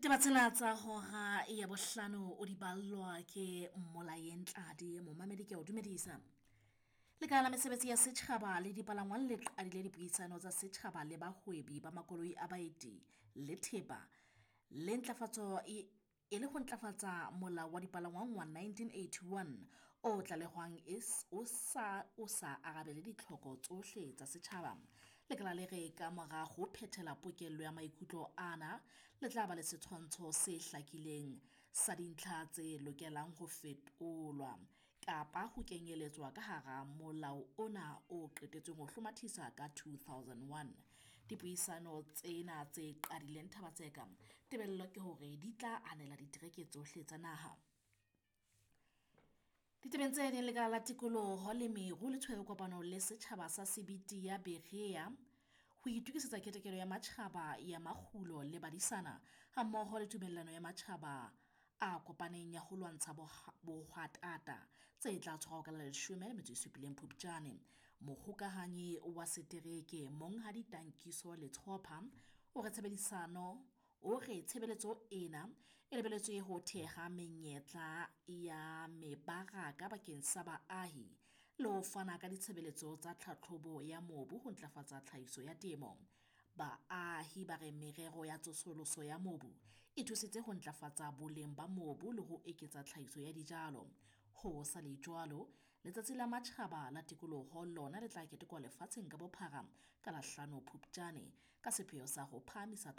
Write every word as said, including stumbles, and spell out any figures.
Ditaba tsena tsa hora ya bohlano o di ballwa ke Mmolayeng Tladi, momamedi ke a o dumedisa. Lekala la mesebetsi ya setjhaba le dipalangwang le qadile dipuisano tsa setjhaba le bahwebi ba makoloi a baeti le thepa le ntlafatso e e le ho ntlafatsa Molao wa Dipalangwang wa nineteen eighty-one o tlalehwang o sa o sa arabele ditlhoko tsohle tsa setjhaba. Lekala le re ka mora ho phethela pokello ya maikutlo ana, le tla ba le setshwantsho se hlakileng sa dintlha tse lokelang ho fetolwa kapa ho kenyeletswa ka hara molao ona o qetetsweng ho hlomathisa ka two thousand one. Dipuisano tsena tse qadileng Thaba-Tseka, tebello ke hore di tla anela ditereke tsohle tsa naha. Ditabeng tse ding, Lekala la Tikoloho le Meru le tshwere kopano le setjhaba sa Sebiti ya Berea ho itukisetsa ketekelo ya matjhaba ya makgulo le badisana hammoho le tumellano ya matjhaba a kopaneng ya ho lwantsha bohwatata tse tla tshwarwa ka la leshome le metso e supileng Phupjane. Mohokahanyi wa setereke Monghadi Tankiso Letsopa o re tshebedisano o re tshebeletso ena e lebeletswe ho theha menyetla ya mebaraka bakeng sa baahi le ho fana ka ditshebeletso tsa tlhahlobo ya mobu ho ntlafatsa tlhahiso ya temo. Baahi ba re merero ya tsosoloso ya mobu e thusitse ho ntlafatsa boleng ba mobu le ho eketsa tlhahiso ya dijalo. Ho sa le jwalo, Letsatsi la Matjhaba la Tikoloho lona le tla ketekwa lefatsheng ka bophara ka la hlano Phupjane ka sepheo sa ho phahamisa